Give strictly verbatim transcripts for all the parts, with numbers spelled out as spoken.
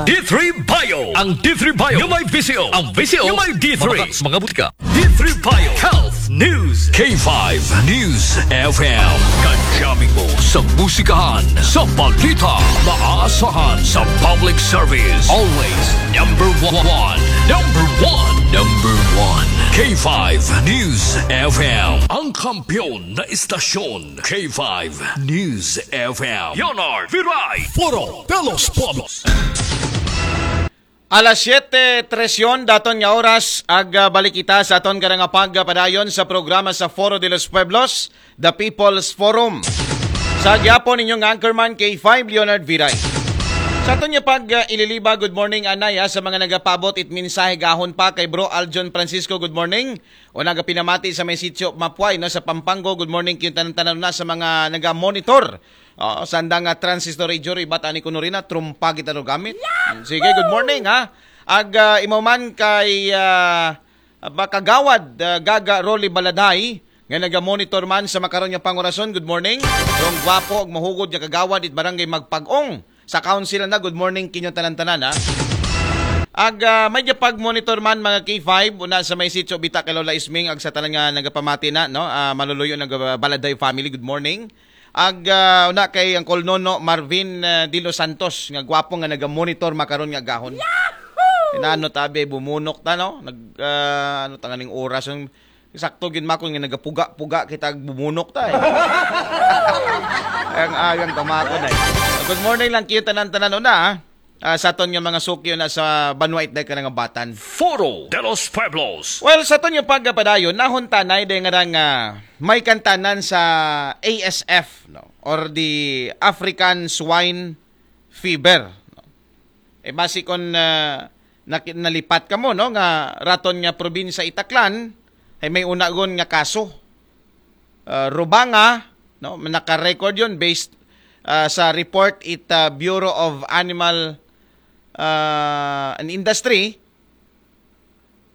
D three Bio. Ang D three Bio nga may visyo. Ang visyo nga may D three. Mga, mga butika. D three Bio Health News. K five News F M. Kadyamin mo sa musikahan, sa balita, maaasahan sa public service. Always number one. Number one. Number one. K five News F M. Ang kampiyon na istasyon. K five News F M. Leonard Viray. Foro de los Pueblos. Alas siyete trese daton nga oras, ag, ah, balik kita sa aton karang pagpadayon sa programa sa Foro de los Pueblos, The People's Forum. Sa gyapon inyong anchorman, K five Leonard Viray. Sa aton nga pag, ah, ililiba, good morning, anay, ah, sa mga nagapabot it mensahe gahon pa kay Bro Aljon Francisco, good morning. O nagapinamati sa may sitio Mapuay, no, sa Pampanga, good morning, kayong tanan-tanan na sa mga naga-monitor. Oh, sanda nga transistor radio, ibat ani kuno rin na, trumpa kita do gamit. Sige, good morning, ha. Ag, ah, imo man kay, ah, ba, Kagawad, ah, Gaga Rolly Baladay, nga naga-monitor man sa makaron nga pangorason, good morning. Rong gwapo ug mahugod nga kagawad it barangay Magpag-ong sa council na, good morning kinyo tanan-tanan, ha. Ag, ah, may pag-monitor man, mga K five, una sa may sitio Bita kay Lola Isming, ag sa tanan nga nagapamati na, no? Ah, maluluyo nga Baladay family, good morning. Ag, ah, una kay Uncle Nono Marvin, ah, de los Santos, nga gwapo nga naga-monitor makaron nga gahon. Inano tabi, bumunok ta, no? Nag, ah, ano ta nga ning oras, yung sakto gid makon nga nagapuga-puga kita ag bumunok ta, eh. Ang agang tamakon, eh. Good morning lang kayo tanan-tanan una, ah. Ah, sa aton nga mga sukyo na sa banwa itday ka nga batan. Foro de los Pueblos. Well, sa aton nga pagpadayon, nahuntanay day nga rang, ah, may kantanan sa A S F, no? Or the African Swine Fever, no? Eh, basi kon, ah, naki-, nalipat ka mo, no, nga raton nga probinsya itaklan, ay may unagon nga kaso. Ah, Rubanga, no, naka-record yun based, ah, sa report it, ah, Bureau of Animal, ah, and Industry.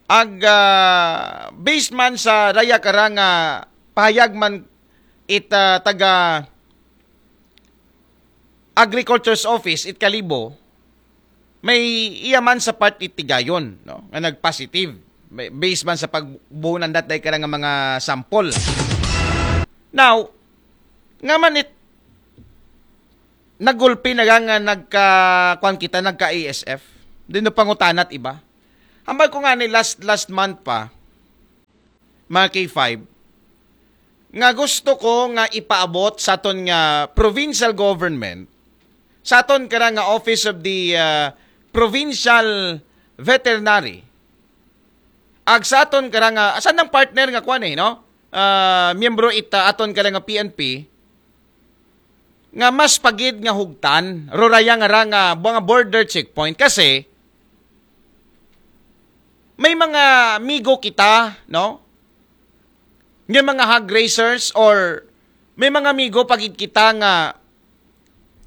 Ag, ah, based man sa daya karang, ah, pahayag man it, ah, taga Agriculture's Office it Kalibo, may iya man sa part it Tigayon, no, nga nag-positive. May, based man sa pagbuhunan dat day karang mga sample. Now, nga man it nagulpi na nga nagka, kwan kita, nagka A S F. Din no pangutanat iba. Hambal ko nga ni last, last month pa, mga K five, nga gusto ko nga ipaabot sa aton nga provincial government, sa aton kara nga Office of the, ah, Provincial Veterinary, ag sa aton kara nga, sa nang partner nga kwan eh, no? Ah, miyembro ita aton kara nga P N P, nga mas pagid nga hugtan, ruraya nga ra nga mga border checkpoint. Kasi, may mga migo kita, no? Nga mga hog raisers or may mga migo pagid kita nga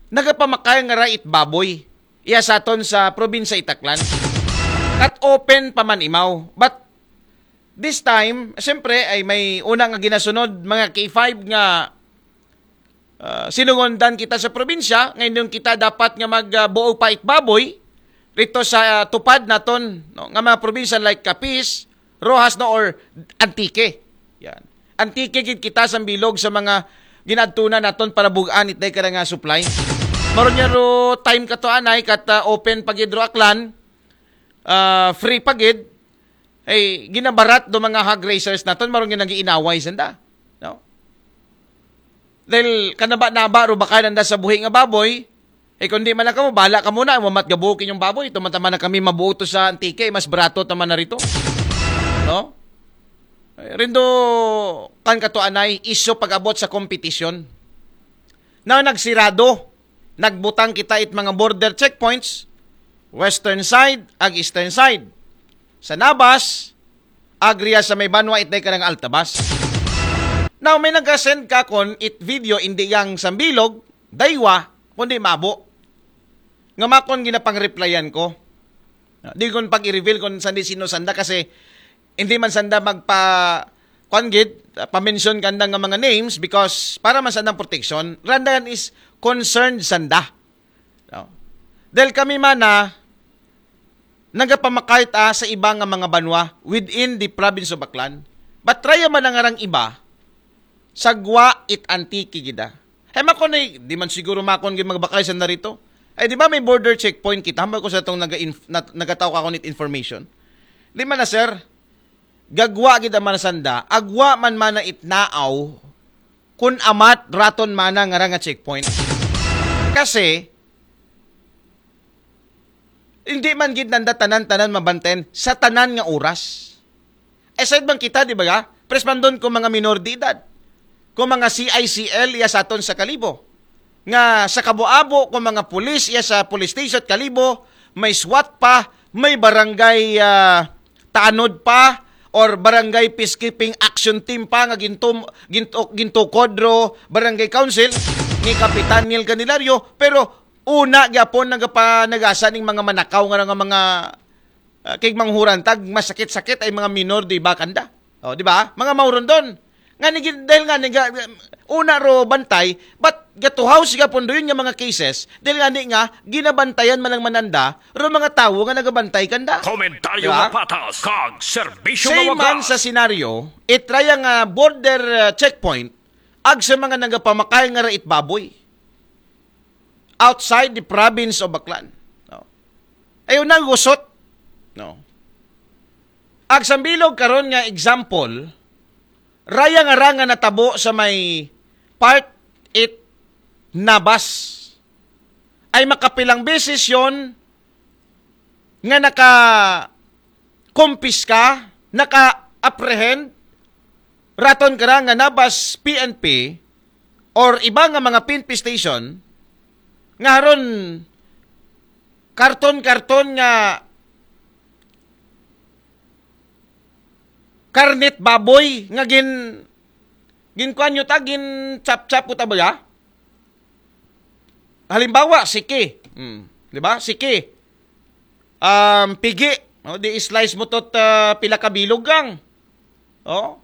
nagapamakay nga ra it baboy. Iya sa aton sa probinsya Itaklan. Kat open pa man imaw. But this time, siyempre, ay may una nga ginasunod, mga K five nga, ah, sinungondan kita sa probinsya, ngayon kita dapat nga magbuo pa it baboy rito sa, ah, tupad naton, no, nga mga probinsya like Capiz, Roxas, no, or Antique. Yan. Antique gid kita sa bilog sa mga ginadtunan naton para bugaan itday kada nga supply. Maron niya ro time kato anay kat, ah, open pa gid ro Aklan, ah, free pa gid. Ay ginabarat do mga hog raisers naton, maron nga nag-iinaway sanda, no? Dahil kanaba-naba ro bakay nanda sa buhi nga baboy, eh, kung di man lang kamo, bahala ka muna, mamat gabuo kinyong baboy, ito man taman na kami mabuo to sa Antique, mas barato taman na rito. No? Eh, rindo, kan kato anay, iso pag-abot sa kompetisyon. Na nagsirado, nagbutang kita it mga border checkpoints, western side, ag eastern side. Sa Nabas, agria sa may banwa itday ka ng Altabas. Now, may nag-send ka kon it video, hindi yang sambilog, daywa, kundi mabo. Nga makon ginapang-replyan ko. Di kon pag-i-reveal kon sandi sino sanda kasi hindi man sanda magpa-, kwan gid, pa-mention kanda nga mga names because para man sandang protection, randan is concerned sanda. No? Dahil kami man na, nagapamakay ta sa iba nga mga banwa within the province of Aklan. But raya man ang arang iba, sa Guwa it Antique gida. Hay mako ni, di man siguro makon gid magbakay sa narito. Ay, di ba may border checkpoint kita? Hambal ko sa itong naga nagataw ka ako nit information. Di man na, sir. Gagwa gid ang manasanda. Agwa man mana itnaaw kun amat raton mana nga nga checkpoint. Kasi, hindi man gid nanda tanan-tanan mabantayan sa tanan nga oras. Aside man kita, di ba? Prespandon ko mga minor de edad. Ko mga C I C L, iya sa aton sa Kalibo. Nga sa Kabo-abo, ko mga pulis, iya sa police station, Kalibo, may SWAT pa, may barangay ah, tanod pa, or barangay peacekeeping action team pa nga gintum, gintu, gintukod ro barangay council ni Kapitan Neil Candelario, pero una gyapon nagapanagasa ning mga manakaw nga nga mga ah, kay manghuran tag masakit-sakit ay mga minor di ba kanda. Oh, di ba? Mga maurundon. Nga ni dahil nga ni una ro bantay, but gatuhaw siya punduyon nga mga cases, dahil nga ni nga ginabantayan man ang mananda ro mga tawo nga nagabantay kanda. Komentaryo Diba? nga patas, kag serbisyo nga Same man wagas. Sa senaryo, itraya nga border uh, checkpoint, ag sa mga nagapamakay nga rait baboy outside the province of Aklan. No? Ayaw nang gusot. No? Ag sambilog karon nga example, raya nga ra nga natabo sa may part it Nabas. Ay makapilang beses yon nga naka kumpiska, naka-apprehend, raton kara nga Nabas P N P or iba nga mga P N P station nga haron karton-karton nga karnet baboy nga gin ginkuan nyo ta, gin chap-chap ko ta ba ya? Halimbawa, siki. Hmm. Di ba? Siki. Um, pigi. Oh, di slice mo tot uh, pila ka bilog lang. Oh.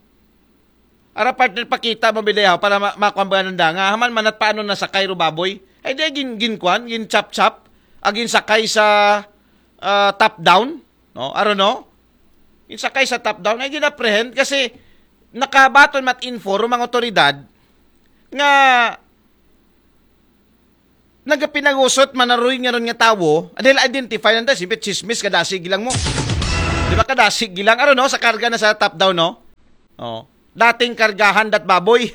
Ara partner pakita mo bidayaw para ma makuha ba nanda nga haman manat paano nasakay ro baboy. Ay di gin ginkuan, gin chap chap, agin sakay sa uh, top down, no? Aro no? Gin sakay sa top down ay ginaprehend kasi nakabaton mat info ro mga otoridad nga nagapinagusot manaruy nga ron nga tawo, dahil identify nanda, siyempre chismis kadasig lang mo. Di ba kadasig lang, ano no, sa karga na sa top down, no? Oh. Dating kargahan dat baboy.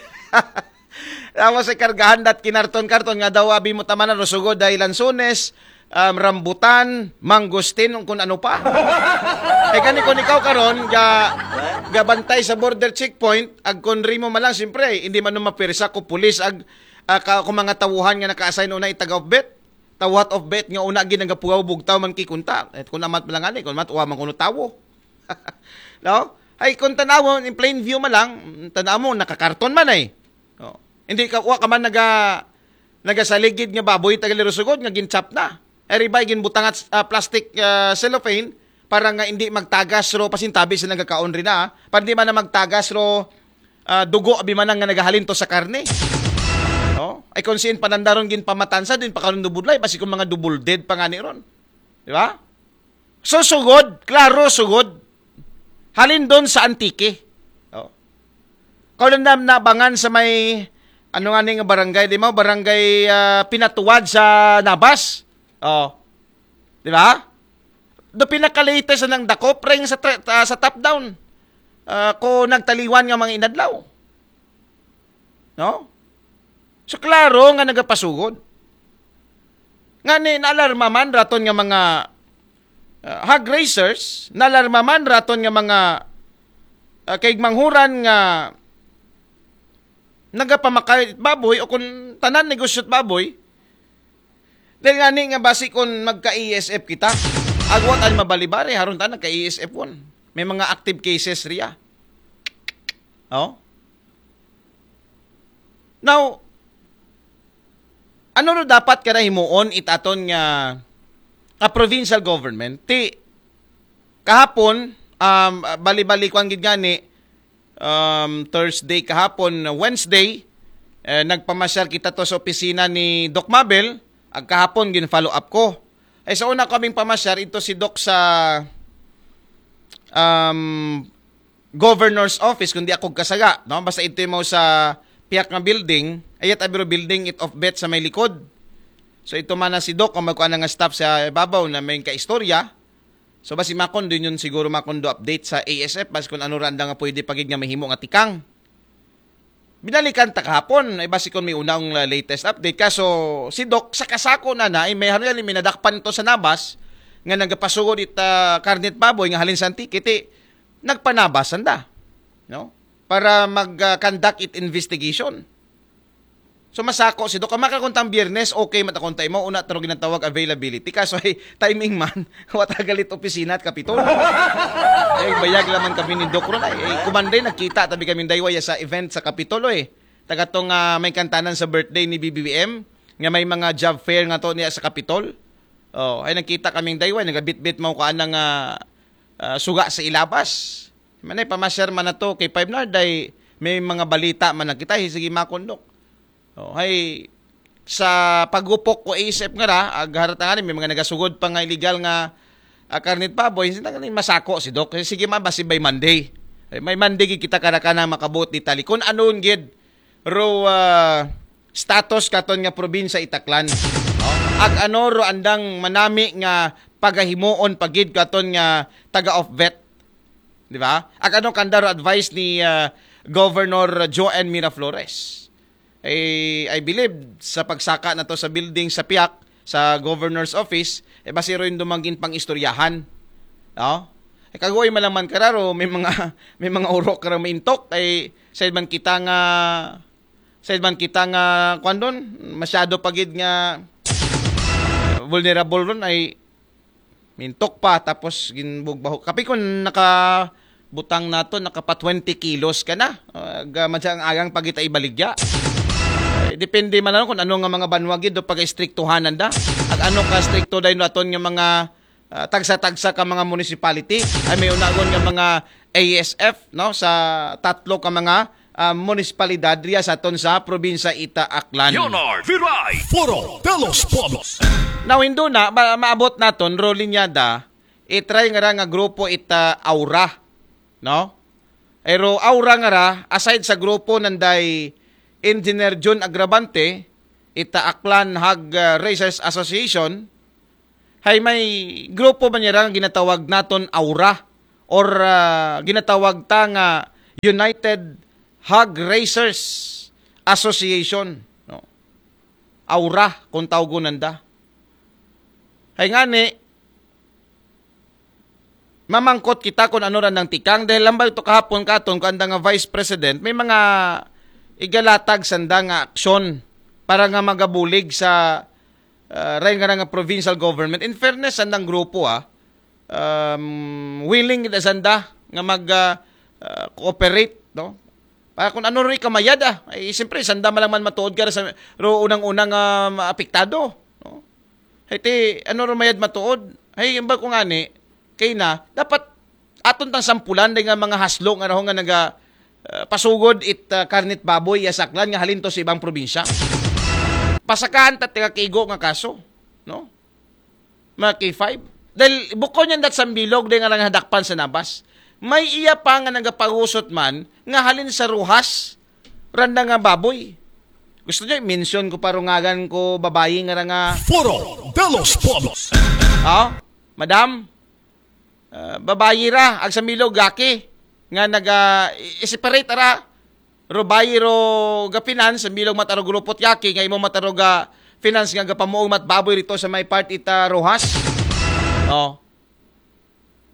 Tapos sa kargahan dat kinarton-karton nga daw abi mo tamanan, rusugod dahil lansones, um, rambutan, mangustin, kung ano pa. Ay kani kung ikaw karon ga gabantay sa border checkpoint, ag kung rimo man lang, siyempre, hindi man mapirsa ko pulis, ag uh, ka, kung mga tawuhan nga naka-assign una itaga of bet, tawhat of bet nga una ginagapugaw bugtaw man kikunta. Et kung amat lang ani, kung amat uwa man kuno tawo. No? Ay kung tanaw in plain view man lang, tanaw mo nakakarton man ay. Oh. Hindi ka uwa ka man naga nagasaligid nga baboy taga Lerosugod nga ginchap na. Ay ribay ginbutangat uh, plastic uh, cellophane para nga hindi magtagas ro pasintabi sa nagakaon rin na. Para di man na magtagas ro uh, dugo abi man nga nagahalin to sa karne. No? Ay kung siin panandaron gin pamatansa din pa karon dubudlay basi kung mga double dead pa nga ni ron. Di ba? So sugod, klaro sugod. Halin doon sa Antique. Oh. Kau na nabangan sa may ano nga ning barangay, di mo? Barangay uh, Pinatuwad sa Nabas. Oh. Di ba? Do pinaka-latest na ng dakop ring sa, uh, sa top down. Uh, ko nagtaliwan nga mga inadlaw. No? So klaro nga nagapasugod. Nga ni naalarma man raton nga mga uh, hog raisers, naalarma man raton nga mga uh, kaigmanghuran nga nagapamakay baboy o kung tanan negosyo't baboy, dahil nga ni nga basi kung magka-E S F kita, agwat ang mabalibari, haron ta nagka-E S F one. May mga active cases riya. Oh? Now, ano ro dapat kada himuon itaton nga a provincial government? Ti kahapon, um, bali-bali kwan gid gani, um, Thursday kahapon, Wednesday, eh, nagpamasyal kita to sa opisina ni Doc Mabel, ag kahapon gin-follow up ko. Ay, sa una kaming pamasyar, ito si Doc sa um, governor's office, kundi ako kasaga, no? Basta ito mo sa piyak nga building, ayat abiro building, it off bet sa may likod. So ito man na si Doc, kung magkuha nga staff sa babaw na may kaistorya. So basi makon din yun siguro makon do update sa A S F, bas kung ano randa nga pwede pagid nga mahimo nga tikang. Binalikan ta kahapon, ay basi kung may unang uh, latest update. Kaso si Doc, sa kasako na na, ay may haruyan may nadakpan ito sa nabas, nga nagapasugod it uh, karnet baboy nga halin sa Antique, iti nagpanabas anda, no? Para mag-conduct it investigation. So masako si Doc. Makakuntang biyernes, okay, matakuntay mo, una taro ginatawag availability. Kaso ay timing man, wata galit opisina at kapitol. Ay, bayag laman kami ni Doc ron. Ay, ay kumanday, nagkita tabi kami daywaya sa event sa Kapitol, eh. Tagatong uh, may kantanan sa birthday ni B B M, nga may mga job fair nga to niya sa Kapitol. Oh, ay nagkita kaming dayway, nagabitbit mo ko anang uh, uh, suga sa ilabas. Manay, pamasyar man na to kay Five Nard, ay may mga balita man na kita, sige makondok. Oh, hay, sa pagupok ko isip nga ra, agharata nga rin, may mga nagasugod pa nga illegal nga uh, karnit baboy, hindi na masako si Doc. Sige man, basi by Monday. Ay, may Monday kita karakana makabuot detalye. Kung anon gid, ro uh, status katon nga probinsya itaklan. No? Ag ano ro andang manami nga pagahimuon pagid katon nga taga-off vet. Di ba? Ag ano kanda ro advice ni uh, Governor Joanne Miraflores. Eh, I believe sa pagsaka na to sa building sa piyak sa governor's office, eh basi ro yung dumangin pang istoryahan. No? Eh, kagoy malaman kararo, may mga may mga urok karo maintok ay sa man kita nga sa man kita nga kwan doon, masyado pagid nga vulnerable ron ay mintok pa tapos ginbugbaho. Kapi kung naka butang nato nakapa twenty kilos ka na. Uh, madya ang agang pagita ibaligya. Eh, depende man lang kung ano nga mga banwa gid do pag-istriktuhanan da. Ag ano ka strikto dahil aton nga mga uh, tagsa-tagsa ka mga municipality. Ay may unagon nga mga A S F no sa tatlo ka mga uh, municipalidad riya sa aton sa probinsya ita Aklan. Leonard Viray, Foro de los Pueblos. Now, indo na, ma- maabot naton, Rolinyada, itry nga ra nga grupo ita Aura, no? Pero Aura nga ra, aside sa grupo nanday Engineer Jun Agravante, ita Aklan Hog uh, Raisers Association, hay may grupo ba niya ra nga ginatawag naton Aura or uh, ginatawag ta nga United Hog Raisers Association, no? Aura kung tawgon nanda. Hay ngani, mamangkot kita kung ano ra nang tikang dahil lambay to kahapon katon kung anda nga vice president may mga igalatag sanda nga aksyon para nga magabulig sa uh, ray nga nga provincial government. In fairness sandang grupo ah, um, willing kita sanda nga mag uh, uh, cooperate no para kung ano rin kamayad ah ay siyempre sanda malang man matuod ka sa ro unang-unang uh, apektado no Hiti, ano rumayad matuod? Hay, ba ko ngani, kay na, dapat aton tang sampulan day nga mga haslo nga raho nga naga uh, pasugod it uh, karnit baboy ya saklan nga halin to sa ibang probinsya. Pasakahan ta tiga kigo nga kaso, no? Mga K five. Dahil bukod niyan dat sambilog day nga lang hadakpan sa nabas. May iya pa nga nagapagusot man nga halin sa ruhas randa nga baboy. Gusto niyo i-mention ko parungagan ko babayi nga nga Foro de los Pueblos. Oh, madam, uh, babayi ra ag sa milog gaki nga naga i-separate ra ro bayi ro ga finance sa milog mataro grupo ti gaki nga imo mataro ga finance nga gapamuog mat baboy rito sa may part ita Rojas. Oh.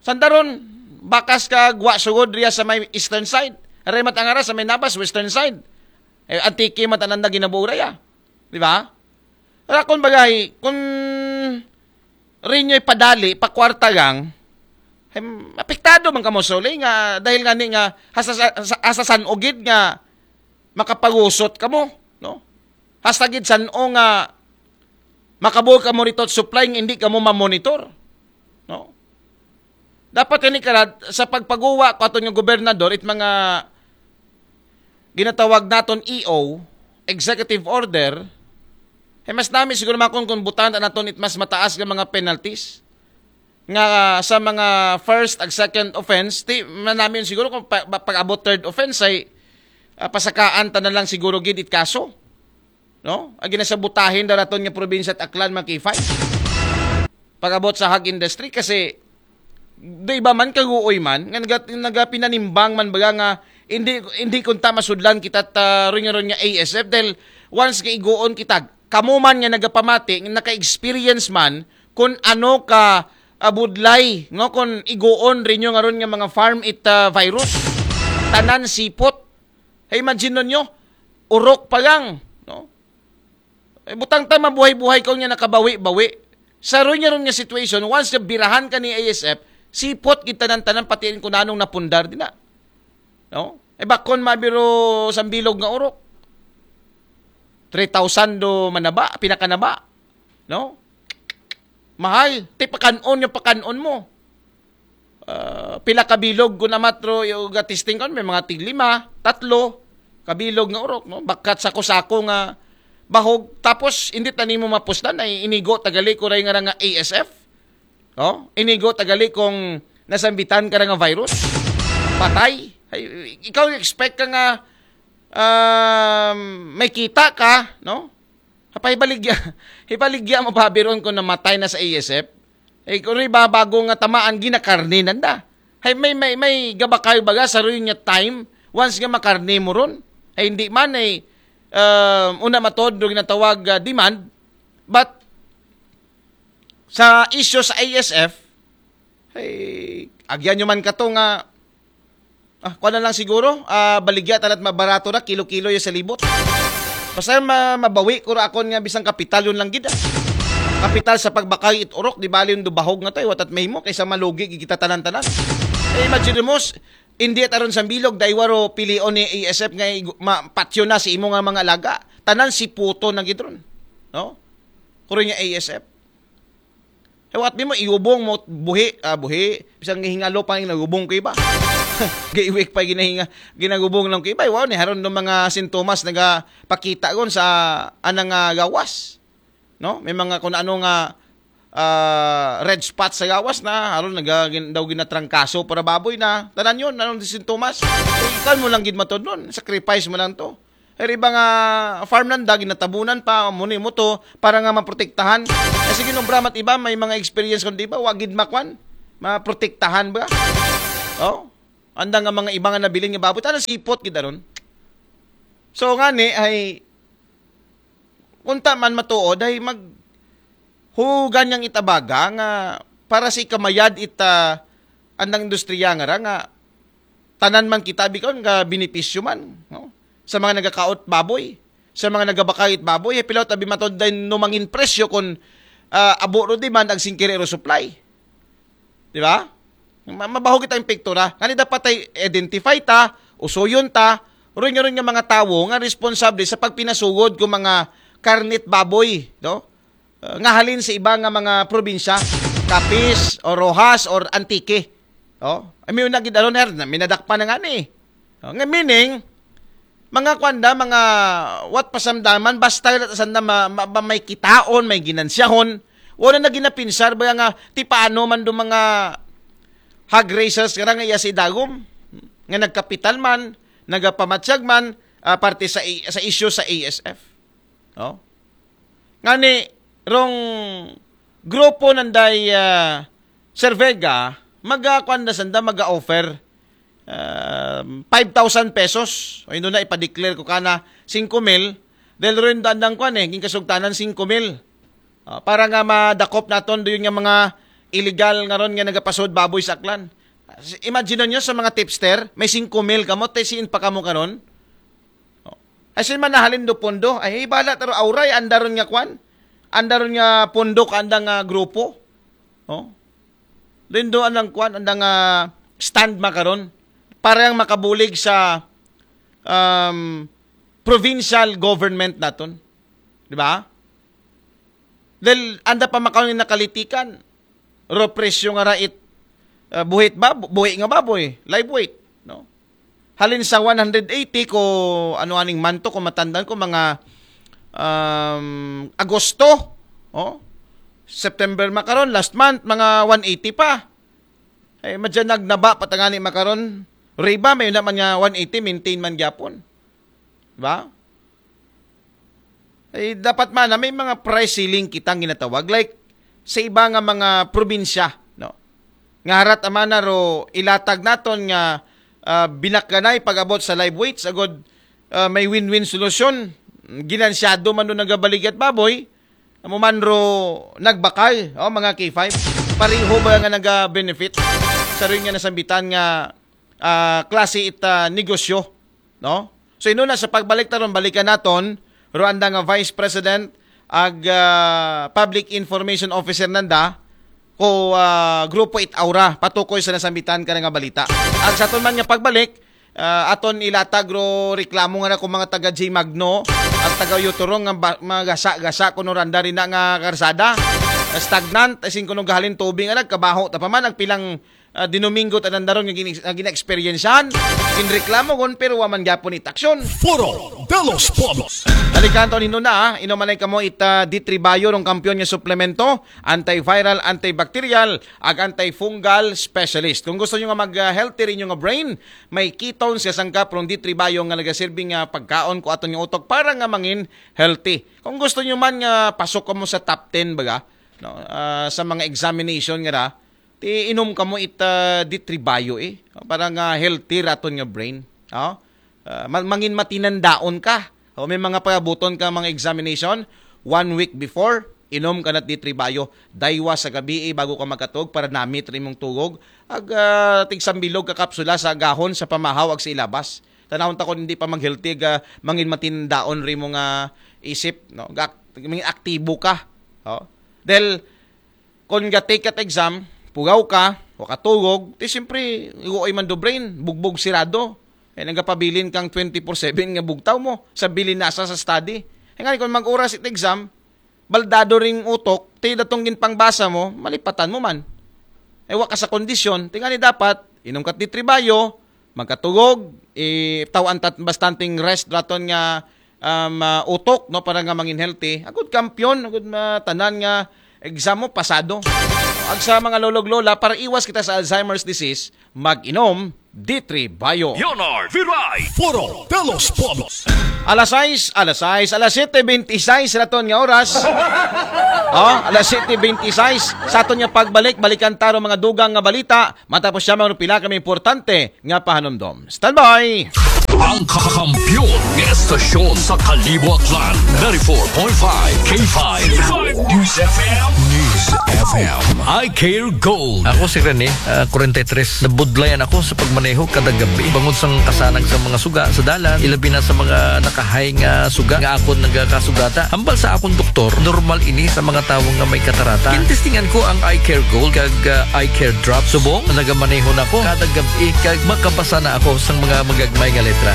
Sandaron, bakas ka gwa sugod riya sa may eastern side. Aray matangara sa may nabas, western side. Eh, Antique man tanan na ginabuo raya. Di ba? Rakon bagay, kung rinyo'y padali, pakwarta gang, em, apektado man kamo suli nga dahil nga ni nga hasa, hasa, hasa san ugid nga makapagusot kamo, no? Hasta gid san-o nga makabuo kamo rito supply nga hindi kamo mamonitor. No? Dapat kani karad sa pagpaguwa ko aton nga gobernador it mga ginatawag naton E O, executive order, Hay mas nami siguro makon kung butangan ta naton it mas mataas nga mga penalties. Nga sa mga first ag second offense, ti manami siguro kung pa, pa, pag-abot third offense ay ah, pasakaan ta na lang siguro gid it kaso. No? Agi na sa butahin daw naton nga probinsya at Aklan, mga K five. Pag-abot sa hog industry kasi do iba man kaguoy man nga naga, nagapinanimbang man baga nga hindi hindi kunta masudlan kita ta ron nga ron nga A S F dahil once nga iguon kita, kamo man nga nagapamati nga naka-experience man kung ano ka abudlay, no, kung iguon rin yung aron nga mga farm it ah, virus, tanan sipot. Hey, imagine ninyo, urok pa lang, no? Eh, butang ta mabuhay-buhay ko nga nakabawi-bawi. Sa ron nga ron nga situation, once nga birahan ka ni A S F, sipot gid tanan-tanan pati ko nanong napundar din na. No? Eh, bakon mabiro sa bilog nga urok. Three thousand do manaba, pinakanaba. No? Mahal. Ti pakanon yung pakanon mo. Ah, pila ka bilog ko na matro yung testing ko, may mga tig lima, tatlo, kabilog nga urok, no? Bakat sako-sako nga bahog, tapos hindi ta nimo mapuslan ay inigo tagali ko ray nga nga A S F. No? Inigo tagali kung nasambitan ka nga virus. Patay. Ay, ikaw expect ka nga um, may kita ka, no? Hapay baligya, hibaligya mo pabiron kung namatay na sa A S F. Eh, kung rin ba bago nga tamaan, ginakarne nanda. Hay, may, may, may gabakay baga sa rin nga time, once nga makarne mo ron. Ay, hindi man ay, um, una matod, do ginatawag ah, demand. But, sa issue sa A S F, ay, agyan nyo man ka to nga, ah, kuha na lang siguro, ah, baligya talat mabarato na, kilo-kilo yung sa libot. Basta ma mabawi ko ra akon nga bisang kapital yun lang gid. Ah. Kapital sa pagbakay it urok, di bali yung dubahog nga to, eh, watat mahimo kaysa malugi gid kita tanan-tanan. Eh, imagine mo, s- hindi at aron sa bilog, dahil waro pilion ni A S F nga igu- ma- patyo na si imo nga mga alaga. Tanan si puto na gid ron. No? Kuro niya A S F. Hewat mo, iubong mo, buhi, ah, buhi. Bisang hingalo pa yung nagubong ko iba. Gaiwik pa ginahinga, ginagubong lang ko iba. Wow, ni haron ng mga sintomas nagapakita gon sa anang ah, gawas. No? May mga kung ano nga ah, red spot sa gawas na, haron naga, gin, daw ginatrangkaso para baboy na. Tanan yun, anong sintomas? Eh, ikaw mo lang gid matod nun. Sacrifice mo lang to. Pero iba nga farm nanda, ginatabunan pa, muni mo to, para nga maprotektahan. Eh, sige, nung bramat iba, may mga experience kung di ba, wagid makwan, maprotektahan ba? Oh? Anda nga mga iba nga nabilin nga baboy, tana sipot gid aron. So, nga ni, ay, unta man matuod, ay mag, hugan niyang itabaga nga para sa ikamayad ita andang industriya nga ra nga tanan man kita bikaw nga benepisyo man, no? Sa mga nagakaot baboy, sa mga nagabakayit baboy, eh, pilaw tabi matod din no mangin presyo kung ah, abo ro demand ag singkiri ro supply. Di ba? Ma- Mabaho kita ang pektura. Ngani dapat ay identify ta, usuyon ta, ron nga ron nga mga tawo nga responsable sa pagpinasugod ko mga karnit baboy, no? Uh, nga halin sa iba nga mga probinsya, Capiz, o Roxas, or Antique. Oh, ay may unagid aron her, minadakpan na nga ni. Oh, nga meaning, mga kwanda, mga what pasamdaman, basta sanda ma, ma, ma, may kitaon, may ginansyahon, wala na ginapinsar ba nga ti paano man do mga hog raisers nga nga iya si Dagom nga nagkapital man, nagapamatyag man ah, parte sa i- sa isyu sa A S F. No? Ngani rong grupo nanday ah, Sir Vega, maga kuan na sanda, maga-offer um, five thousand pesos. O yun na, ipa-declare ko kana singko mil. Dahil rin dandang kwan eh, yung kasugtanan singko mil. Ah, para nga madakop naton doon nga mga illegal nga ron nga nagapasod baboy sa Aklan. Imagine nyo sa mga tipster, may singko mil kamo, te siin pa kamo karon? Oh. Ay sin manahalin do pondo, ay hibala taro auray, andaron nga kwan, andaron nga pondo ka andang ah, grupo. Oh. Lindo andang kwan, andang ah, stand makaron para yang makabulig sa um, provincial government naton. Di ba? Dahil anda pa makaon nga nakalitikan, ro presyo nga rait uh, buhit ba, buhi nga baboy, live weight, no? Halin sa one hundred eighty ko ano aning manto ko matandan ko mga um, Agosto, oh, September makaron, last month, mga one eighty pa. Ay, madyan nagnaba pa tangani makaron. Riba, may naman nga one eighty, maintain man gyapon. Diba? Ay, dapat man na may mga price ceiling kitang ginatawag. Like, sa iba nga mga probinsya, no? Nga harat amana ro ilatag naton nga ah, binakganay pag-abot sa live weights, agod ah, may win-win solusyon. Ginansyado man doon nagabaligyat baboy, amo man ro nagbakal, oh, mga K five. Pareho ba nga naga-benefit sa rin nga nasambitan nga ah, klase ita negosyo, no? So, ino na sa pagbalik taron, balikan naton, Ruanda nga Vice President, ag ah, Public Information Officer nanda, ko ah, Grupo Itaura, patukoy sa nasambitan ka nga balita. Ag sa aton man nga pagbalik, ah, aton ilatag ro reklamo nga na kung mga taga J Magno, at taga Yuturo nga ba, mga gasa-gasa kuno randa rin na nga karsada. Stagnant, as in kuno gahalin tubig nga nagkabaho. Tapaman, ang pilang ah, dinuminggo tanan daron nga gin-, nga gina-experiencehan, ginreklamo gon, pero wa man gyapon itaksyon. Foro de los Pueblos. Balikan to nino na, ah. Inom man ay kamo ita D three Bio rong kampiyon nga suplemento, antiviral, antibacterial, ag antifungal specialist. Kung gusto nyo nga mag-healthy rin yung brain, may ketones nga sangkap rong D three Bio nga nagasilbing nga pagkaon ko aton nga utok para nga mangin healthy. Kung gusto nyo man nga pasok mo sa top ten, baga, no, ah, sa mga examination nga ra, ti inom kamo ita D three Bio, eh. Para nga healthy raton nga brain. Oh? Ah, ma-, mangin matinandaon ka. O may mga pagabuton ka mga examination, one week before, inom ka na D three Bio. Daywa sa gabi, eh, bago ka makatog para namit rin mong tugog. Ag ah, tigsambilog ka kapsula sa gahon, sa pamahaw, ag sa ilabas. Tanawon ta kung hindi pa mag-healthy, ag ah, mangin matinandaon rin mo nga isip, no? Ga-, mangin aktibo ka. Oh? Dahil kung ga-take at exam, pugaw ka, wakatugog, ti siyempre, igo ay man do brain, bugbog sirado. Eh, nagapabilin kang twenty-four seven nga bugtaw mo, sa bilin nasa sa study. Eh, nga, kung mag-oras it exam, baldado ring utok, ti datong ginpangbasa mo, malipatan mo man. Eh, wa ka sa kondisyon, ti nga ni dapat, inom ka D three Bio, magkatugog, eh, tawaan tat bastanteng rest raton nga um, ah, utok, no, para nga mangin healthy. Agud kampiyon, agud matanan nga exam mo, pasado. Ag sa mga lolog lola, para iwas kita sa Alzheimer's disease, mag-inom D three Bio. Leonard Viray, Foro de los Pueblos. Alas sais, alas sais, alas siyete bente sais raton nga oras. Oh, alas siyete bente sais. Sa aton nga pagbalik, balikan taro mga dugang nga balita. Matapos siya, mga pila kami importante nga pahanumdom. Standby! Ang kakampiyon ng estasyon sa Kalibo Aklan, ninety-four point five K five News F M. News F M. I Care Gold. Ako si Rene, ah, forty-three. Nabudlayan ako sa pagmaneho kada gabi. Bangod sang kasanag sa mga suga sa dalan, ilabi na sa mga nakahay nga suga nga akon nagakasugata. Hambal sa akong doktor, normal ini sa mga tawo nga may katarata. Gintestingan ko ang Eye Care Gold kag ah, Eye Care Drop. Subong, nagamaneho na ko kada gab-i kag makabasa na ako sang mga magagmay nga letra.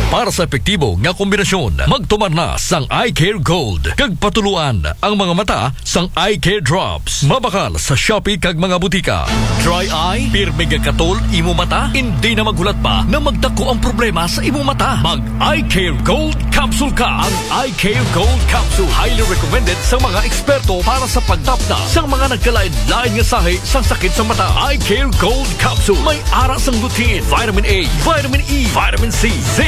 Para sa epektibo nga kombinasyon, magtumar na sang Eye Care Gold kag patuluan ang mga mata sang Eye Care Drops. Mabakal sa Shopee kag mga butika. Dry eye, pirmi nga katol imo mata, hindi na maghulat pa na magdako ang problema sa imo mata. Mag Eye Care Gold Capsule ka. Ang Eye Care Gold Capsule highly recommended sa mga eksperto para sa pagtapna sa mga nagkalain-lain nga sahi sa sakit sa mata. Eye Care Gold Capsule may ara sang lutein, vitamin A, vitamin E, vitamin C, zinc,